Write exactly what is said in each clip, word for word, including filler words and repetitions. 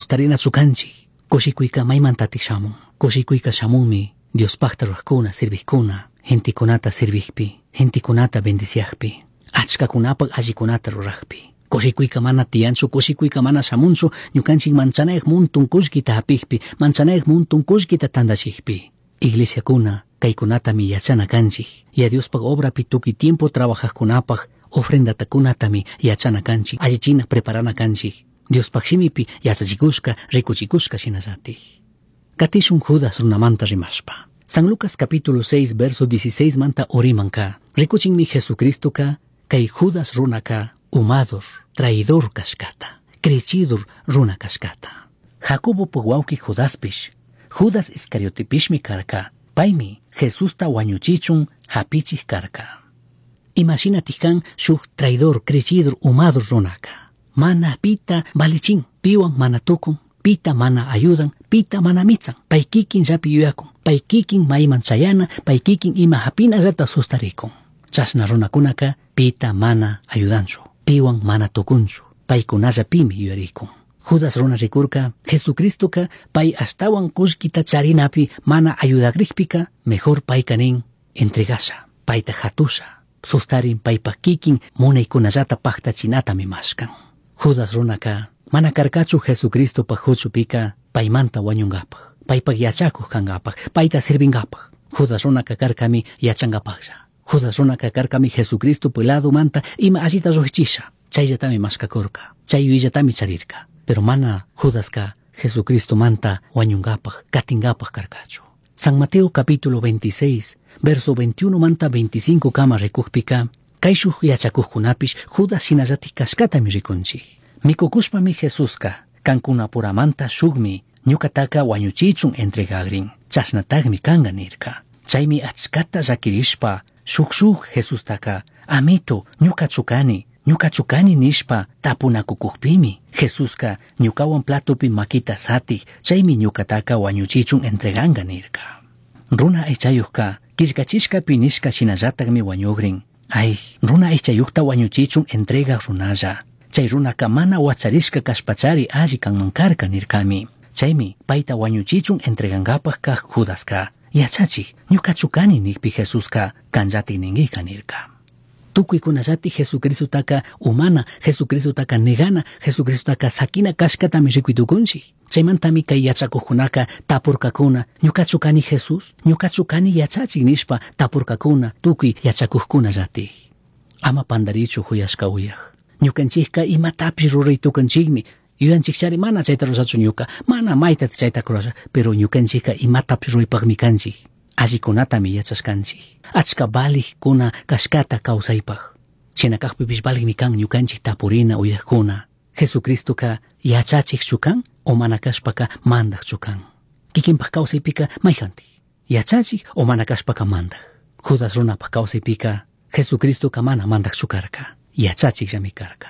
sustarinachu kanchik. Kushikuyka maymantatik shamun? Kushikuyka shamunmi Diospakta rurajkuna, sirvijkuna, gentekunata sirvijpi, gentekunata bendiciajpi, achkakunapak allikunata rurajpi. Kushikuyka mana tiyanchu, kushikuyka mana shamunchu, ñukanchik manchanayaj muntun kullkita hapijpi, manchanayaj muntun kullkita tandachijpi. Iglesiakuna kaykunatami yachana kanchik. Yaya Diospaj obrapi tukuy tiempo trabajajkunapaj ofrendatakunatami yachana kanchik, allichina preparana kanchik. Diospaj shimipi yachachikushka, rikuchikushka shinallatik. Katishun Judas runamanta rimashpa. San Lucas capítulo seis verso dieciséis manta urimanka. Rikuchinmi Jesucristoka kay Judas runaka umador, traidor kashkata, crechidor runa kashkata. Jacobo wawki Judaspish, Judas Iscariotepishmi karka, paymi Jesusta wañuchichun hapichij karka. Imashinatik kan shuk traidor, crechidor, umador runaka. Mana pita valichin, piwan mana tukun, pita mana ayudan, pita mana mitsan. Pay kikin llapi yuyakun, pay kikin mayman chayana, pay kikin ima hapinallata sustarikun. Chashna runakunaka pita mana ayudanchu, piwan mana tukunchu, paykunallapimi yuyarikun. Judas runa rikurka, Jesucristoka pay ashtawan kullkita charinapi mana ayudakrikpika, mejor payka nin entregasha, payta hatusha, sustarin paypa kikin munaykunallata paktachinatami mashkan. Judas runaka mana karkachu Jesucristopaj huchupika paymanta wañunkapaj, paypak yachakuj kankapaj, payta sirvinkapaj. Judas runaka karkami yachankapajlla. Judas runaka karkami Jesucristopaj ladomanta ima allita llujchisha, chayllatami mashkakurka, chay yuyallatami charirka. Pero mana Judaska Jesucristomanta wañunkapaj, katinkapaj karkachu. San Mateo capítulo veintiséis, verso veintiuno manta veinticinco kama rikujpika, kayshuj yachakujkunapish Judas shinallatik kashkatami rikunchik. Mikukushpami Jesuska kankunapuramanta shukmi ñukataka wañuchichun entregagrin, chashnatakmi kanka nirka. Chaymi achkata llakirishpa shuk shuk Jesustaka, amito, ñukachu kani, ñukachu kani nishpa tapunakukujpimi Jesuska ñukawan platopi makita satij, chaymi ñukataka wañuchichun entreganka nirka. Runa aychayujka killkachishkapi nishka shinallatakmi wañugrin. Ay, runa aychayujta wañuchichun entregaj runalla. Chay runaka mana wacharishka kashpachari alli kanman karka nirkami. Chaymi payta wañuchichun entregankapaj kaj Judaska, yachachij, ñukachu kani nikpi Jesuska kanllatik ninkika nirka. Tukuykunallati Jesucristotaka umana, Jesucristotaka negana, Jesucristotaka sakina kashkatami rikuytukunchik. Chaymantami kay yachakujkunaka tapurkakuna, ñukachu kani Jesús, ñukachu kani yachachik nishpa tapurkakuna tukuy yachakujkunallatik. Ama pandarichu huyashka uyaj. Ñukanchikka imatapish ruraytukanchikmi. Yuyanchikchari mana chayta rurachu ñuka, mana mayta chayta rurasha, pero ñukanchikka imatapish ruraypakmi kanchik. Allikunatami yachashkanchik. Achka valijkuna kashkata kawsaypaj. Shina kajpipish valijmi kan ñukanchik tapurina uyajkuna. Jesucristoka yachachikchu kan o mana kashpaka mandajchu kan. Kikinpaj kawsaypika mayjantik. Yachachik o mana kashpaka mandaj. Judas runapaj kawsaypika Jesucristoka mana mandajchu karka. Yachachikllami karka.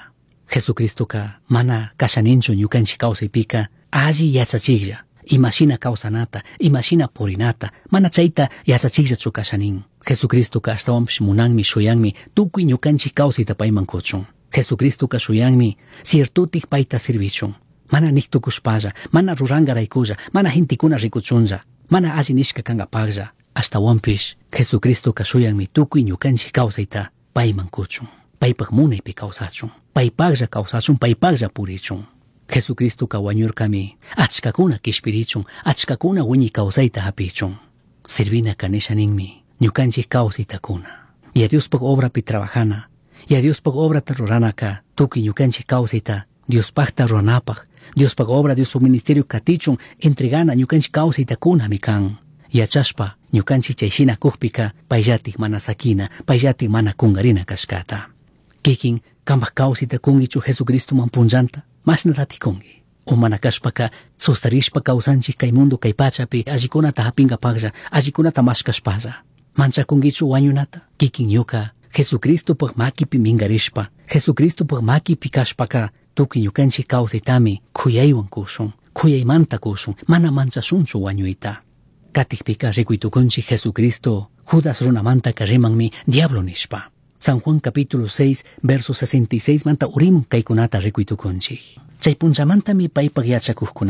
Jesucristoka mana kashaninchu ñukanchik kawsaypika alli yachachiklla. Imashina kawsanata, imashina purinata, mana chayta yachachikllachu kashanin. Jesucristoka ashtawanpish munanmi shuyanmi tukuy ñukanchik kawsayta payman kuchun. Jesucristoka shuyanmi ciertotik payta sirvichun. Mana niktukushpalla, mana rurankaraykulla, mana gentekuna rikuchunlla, mana alli nishka kankapaklla. Ashtawanpish Jesucristoka shuyanmi tukuy ñukanchik kawsayta payman kuchun. Paypak munaypi kawsachun, paypaklla kawsachun, paypaklla purichun. Jesucristoka wañurkami achkakuna kishpirichun, achkakuna wiñay kawsayta hapichun. Sirvinaka nisha ninmi ñukanchik kawsaytakuna. Yaya Diospaj obrapi trabajana, Yaya Diospaj obrata ruranaka tukuy ñukanchik kawsayta Diospajta ruranapaj, Diospaj obra, Diospaj ministerio katichun entregana ñukanchik kawsaytakunami kan. Yachashpa ñukanchik chayshina kujpika payllatik mana sakina, payllatik mana kunkarina kashkata. Kikin kanpaj kawsayta kunkichu Jesucristoman punllanta, mashnatatik kunki. O mana kashpaka sustarishpa kawsanchik kay mundo kay pachapi allikunata hapinkapaklla, allikunata mashkashpalla. Manchakunkichu wañunata? Kikin ñuka Jesucristopaj makipi minkarishpa, Jesucristopaj makipi kashpaka tukuy ñukanchik kawsaytami kuyaywan kushun, kuyaymanta kushun, mana manchashunchu wañuyta. Katikpika rikuytukunchik Jesucristo Judas runamantaka rimanmi diablo nishpa. San Juan capítulo seis, verso sesenta y seis manta urimun kaykunata rikuytukunchik. Chay punchamantami paypaj yachakujkunaka